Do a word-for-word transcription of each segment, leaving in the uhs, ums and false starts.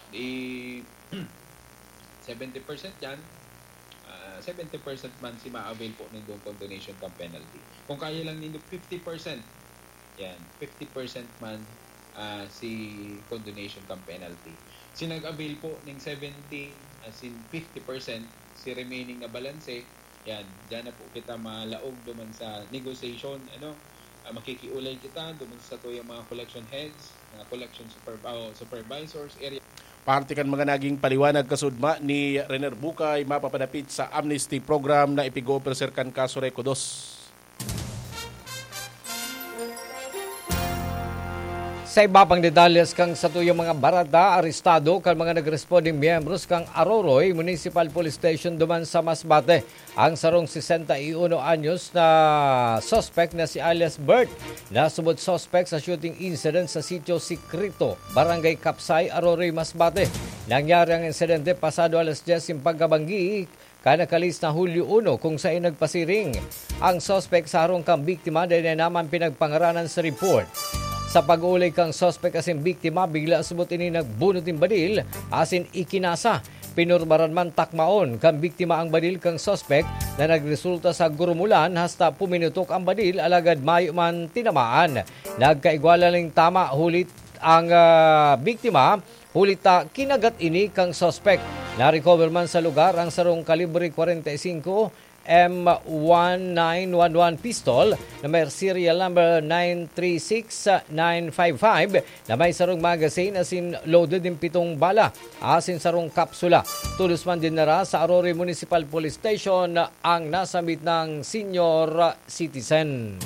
Di seventy percent yan, ah, seventy percent man si ma-avail po nindong condonation cum penalty. Kung kaya lang nindo fifty percent, yan, fifty percent man, ah, si condonation cum penalty. Si nag-avail po ning seventy, as in fifty percent, si remaining na balanse, yan, diyan na po kita malaog duman sa negotiation, ano, ah, makikiulay kita duman sa tuyang mga collection heads, mga collection super-, oh, supervisors, area. Parte kan mga naging paliwanag kasudma ni Rener Bukay mapapadapit sa amnesty program na ipig-o-offer kan kaso Reco dos. Sa iba pang detalles kan satuyang mga bareta, arestado kan mga nagresponding miyembros kan Aroroy Municipal Police Station duman sa Masbate ang sarong sesenta y uno anyos na suspect na si alias Bert, na subot suspect sa shooting incident sa Sitio Sikrito, Barangay Kapsay, Aroroy, Masbate. Nangyari ang insidente pasado alas dyes nin pagkabanggi kan nakalis na Hulyo uno, kung saen nagpasiring ang suspek sa harong kan biktima, dai na naman pinagpangaranan sa report. Sa pag-uulay kan suspek asin biktima, bigla subot ini nagbunot nin badil asin ikinasa. Pinurbaran man takmaon kan biktima ang badil kan suspek na nagresulta sa gurumulan, hasta puminutok ang badil alagad mayo man tinamaan. Nagkaigwa nin tama, huli ang, ah, biktima, huli ta kinagat ini kan suspek. Na-recover man sa lugar ang sarong kalibre kwarenta y singko M one nine one one pistol na may serial number nine three six nine five five, na may sarong magazine asin loaded nin pitong bala asin sarong kapsula. Tolos man dinara sa Aroroy Municipal Police Station ang nasambit na senior citizen.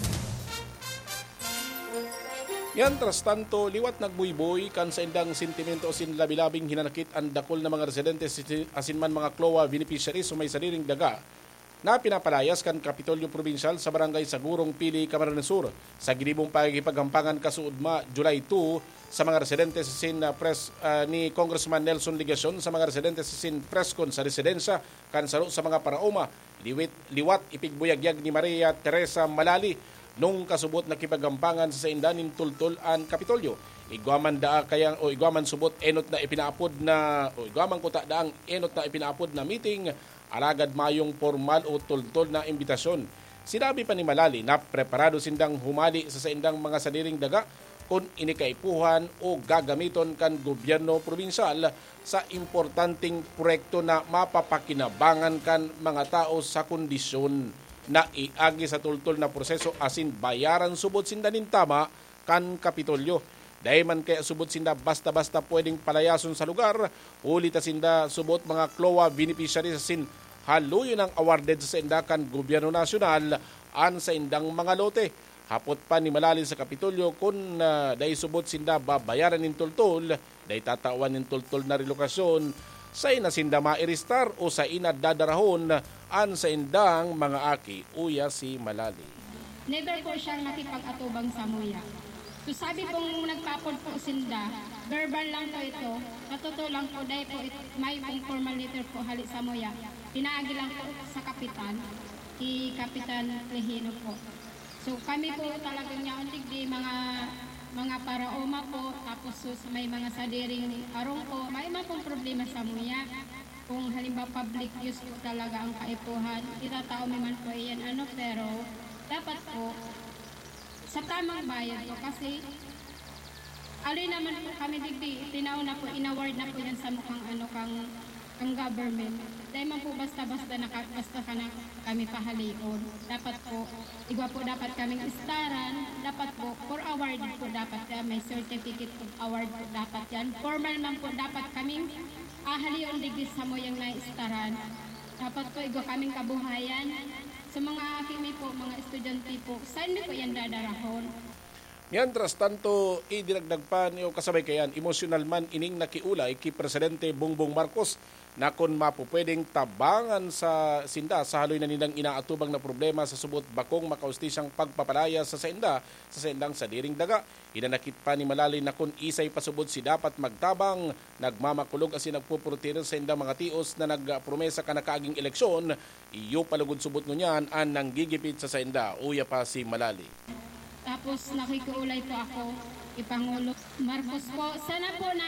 Mientras tanto, liwat nagbuyboy kan saindang sentimento asin labi-labing hinanakit an dakul na mga residente si-, asin man mga CLOA beneficiaries sa may sadiring daga na pinapalayas kan Kapitolyo Probinsyal sa Barangay Sagurong, Pili, Camarines Sur. Sa ginibong pakikipaghampangan kasuodma, July two, sa mga residente sa Sin, ah, Pres-, ah, ni Congressman Nelson Legacion sa mga residente sa Sin Prescon sa residensya kan saro sa mga paraoma, liwit, liwat ipigbuyagyag ni Maria Teresa Malali nung kasubot nakipaghampangan sa sainda nin tultol an Kapitolyo. Igwa man daa kaya, o igwa man subot enot na ipinaapod na, o igwa man kuta daang enot na ipinaapod na meeting, alagad mayong pormal o tultol na imbitasyon. Sinabi pa ni Malali na preparado sindang humali sa saindang mga sadiring daga kun ini kaipuhan o gagamiton kan gobyerno probinsyal sa importanteng proyekto na mapapakinabangan kan mga tao sa kondisyon na iagi sa tultol na proseso asin bayaran subot sinda nin tama kan Kapitolyo. Dai man kaya subot sinda basta-basta pwedeng palayason sa lugar, huli ta sinda subot mga CLOA beneficiaries asin haloy nang awarded sa sainda kan gobyerno nasyonal an saindang mga lote. Hapot pa ni Malali sa Kapitolyo kun, ah, dai subot sinda babayaran nin tultol, dai tatawan nin tultol na relokasyon, sain na sinda mairestar o sain na dadarahon an saindang mga aki, uya si Malali. Never po siyang nakipag-atubang samuya. So, sabi pong nagpaapod po sinda, verbal lang po ito. Sa totoo lang po, dahil po it-, may pong formal letter po hali samuya. Pinaagi lang po sa kapitan, si Kapitan Regino po. So, kami po talagang yaon digdi, mga, mga paraoma po, tapos sus-, may mga sadiring arong po, may mga pong problema samuya. Kung halimbawa public use po talaga ang kaipuhan, itatao mi man po iyan, ano, pero dapat po sa tamang bayad po kasi ali naman po kami digdi, tinao na po, inaward na po yan sa mukhang ano, kang, kang government. Dahil man po basta-basta naka-, basta ka na kami pahalion. Dapat po, igwa po dapat kaming istaran, dapat po, for award po dapat yan, may certificate of award po dapat yan. Formal man po dapat kaming ahalion digdi sa muyang naistaran. Dapat po, igwa kaming kabuhayan. Sa mga aki mi po, mga estudyante po, saan mi po yan dadarahon? Mientras tanto, idinagdag pa ni, o kasabay kayan, emosyonal man ining nakiulay ki Presidente Bongbong Marcos na kun mapupwedeng tabangan sa sinda sa haloy na nindang inaatubang na problema sa subot bakong makaustisyang pagpapalaya sa sainda sa saindang sadiring daga. Hinanakit pa ni Malali na kun isay pa subot si dapat magtabang, nagmamakulog asin nagpupurutir sa saindang mga tios na nagpromesa kan nakaaging eleksyon, iyo pa lugod subot ngunyan an nanggigipit sa sainda. Uya pa si Malali. Tapos nakikiulay po ako, Ipangulo Marcos po. Sana po na